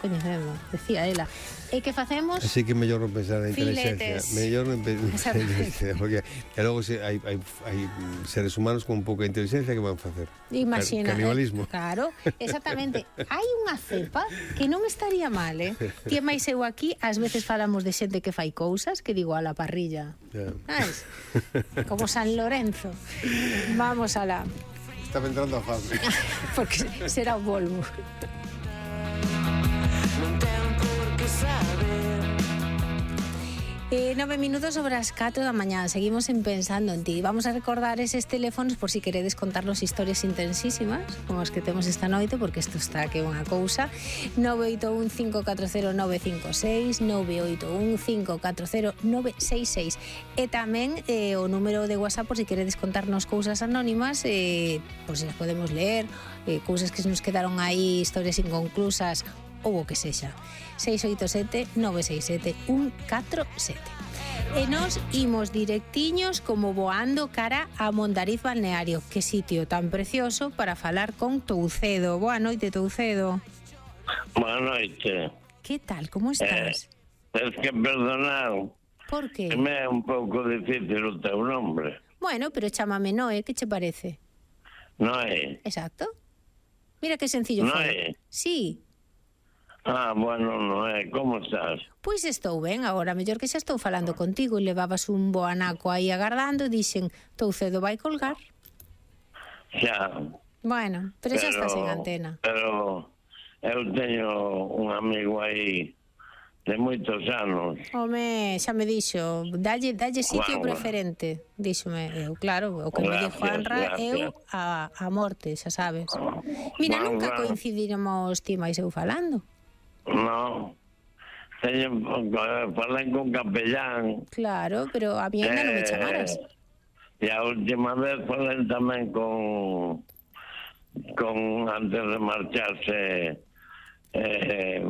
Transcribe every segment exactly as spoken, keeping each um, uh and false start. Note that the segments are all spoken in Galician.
coñecemos, decía ela. E que facemos? Así que mellor non pensar na inteligencia. Mellor non pensar na inteligencia, porque e logo se hai, hai, hai seres humanos con pouca inteligencia que van facer. Imagina. Canibalismo. Eh, claro, exactamente. Hai unha cepa que non estaría mal, eh? Tía máis eu aquí, ás veces falamos de xente que fai cousas, que digo a la parrilla. Yeah. ¿Sabes? Como San Lorenzo. Vamos a la... Estaba entrando a fábrica. Porque será o Volvo. Eh, nove minutos sobre as catro da mañá. Seguimos en Pensando en Ti. Vamos a recordar eses teléfonos por si queredes contarnos historias intensísimas como as que temos esta noite, porque isto está que unha cousa. Nove oito un cinco catro cero nove cinco seis, nove oito un cinco catro cero nove seis seis. E tamén eh, o número de WhatsApp por si queredes contarnos cousas anónimas, eh, por si las podemos leer, eh, cousas que nos quedaron aí, historias inconclusas ou o que sexa. seis oito sete nove seis sete un catro sete. E nos imos directiños como voando cara a Mondariz Balneario. Que sitio tan precioso para falar con Toucedo. Boa noite, Toucedo. Boa noite. Que tal, como estás? Eh, es que perdonar. Por que? Me é un pouco difícil o teu nombre. Bueno, pero chámame Noé, que che parece? Noé. Exacto. Mira que sencillo Noé. foi. Sí. Ah, bueno, Noé, como estás? Pois estou ben, agora mellor que xa estou falando contigo e levabas un bo anaco aí agardando e dixen, Toucedo vai colgar. Xa. Bueno, pero, pero xa estás en antena. Pero eu teño un amigo aí de moitos anos. Home, xa me dixo, dalle, dalle sitio wow, preferente, díxome eu, claro, o que gracias, me dixo Juanra, eu a, a morte, xa sabes. Mira, bueno, nunca coincidiremos ti máis eu falando. No, teño, falei con Capellán. Claro, pero a mí ainda eh, non me chamaras. E a última vez falei tamén con, con antes de marcharse, eh,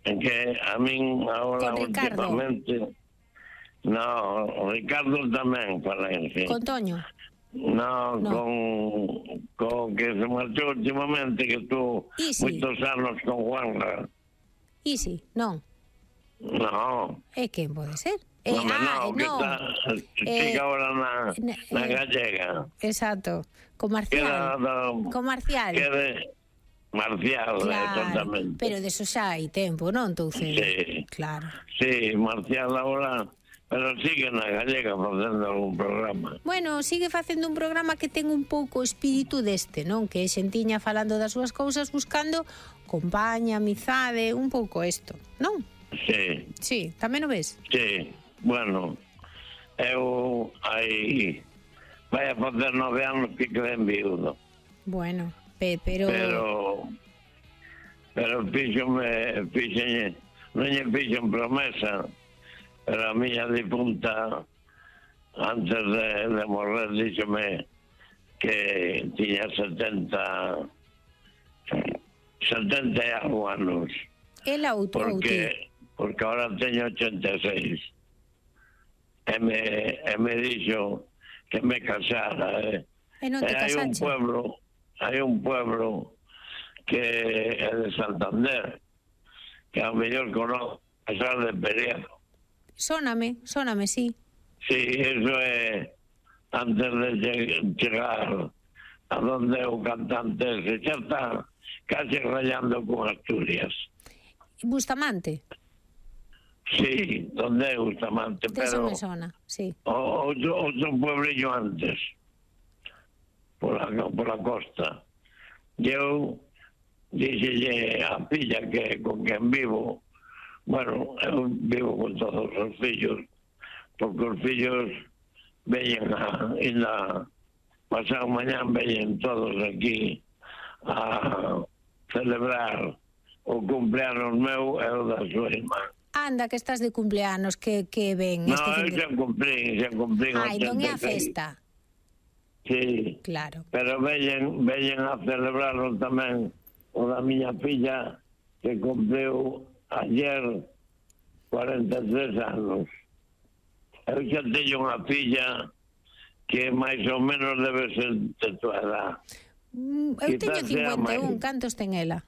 en que a min ahora últimamente... No, Ricardo tamén falei, sí. Con Toño? No, no, con con que se marchou últimamente, que tú moitos anos con Juanra. Isi, non? No. E quen pode ser? Eh, no, ah, no, que no. está eh, ahora na, na eh, gallega. Exacto, con Marcial. Do, con Marcial. Que de Marcial, claro, exactamente. Pero de eso xa hai tempo, non, Toucedo? Sí. Claro. Sí, Marcial ahora... Pero sigue na gallega facendo algún programa. Bueno, sigue facendo un programa que ten un pouco o espírito deste, non? Que é xentiña falando das súas cousas, buscando compaña, amizade, un pouco isto, non? Sí. Sí, tamén o ves? Sí, bueno, eu aí vai a facer nove anos que quedei viudo. Bueno, pe, pero... Pero, pero fíxome, fíxenlle, non lle fixen promesa. Pero a miña difunta, antes de, de morrer, díxome que tiña setenta setenta e algo anos. Ela ou tú? Porque, porque ahora teño ochenta e seis. E me, e me dixo que me casara. Eh. E non te casache? Hai un pueblo, hai un pueblo que é de Santander, que a mellor conozco, casar de Periado. Sóname, sóname, sí. Sí, eso é antes de chegar a donde o cantante se xa está casi rayando con Asturias. Bustamante? Sí, donde é Bustamante, de pero... Eso me sona, sí. O, outro, outro puebrillo antes, por la, por la costa. Eu dixelle a filla que con quen vivo. Bueno, eu vivo con todos os fillos, porque os fillos veñen a, ainda pasado mañán veñen todos aquí a celebrar o cumpleanos meu e o da súa irmá. Anda, que estás de cumpleanos, que, que ven no, este fin de... xa cumprín, xa cumprín. Ai, non é a festa. Sí, claro. Pero veñen, veñen a celebrarlo tamén o da miña filla, que cumpriu ayer cuarenta e tres anos. Eu xa teño unha filla que máis ou menos debe ser de tua edad. Mm, eu teño cincuenta e un, cantos ten ela?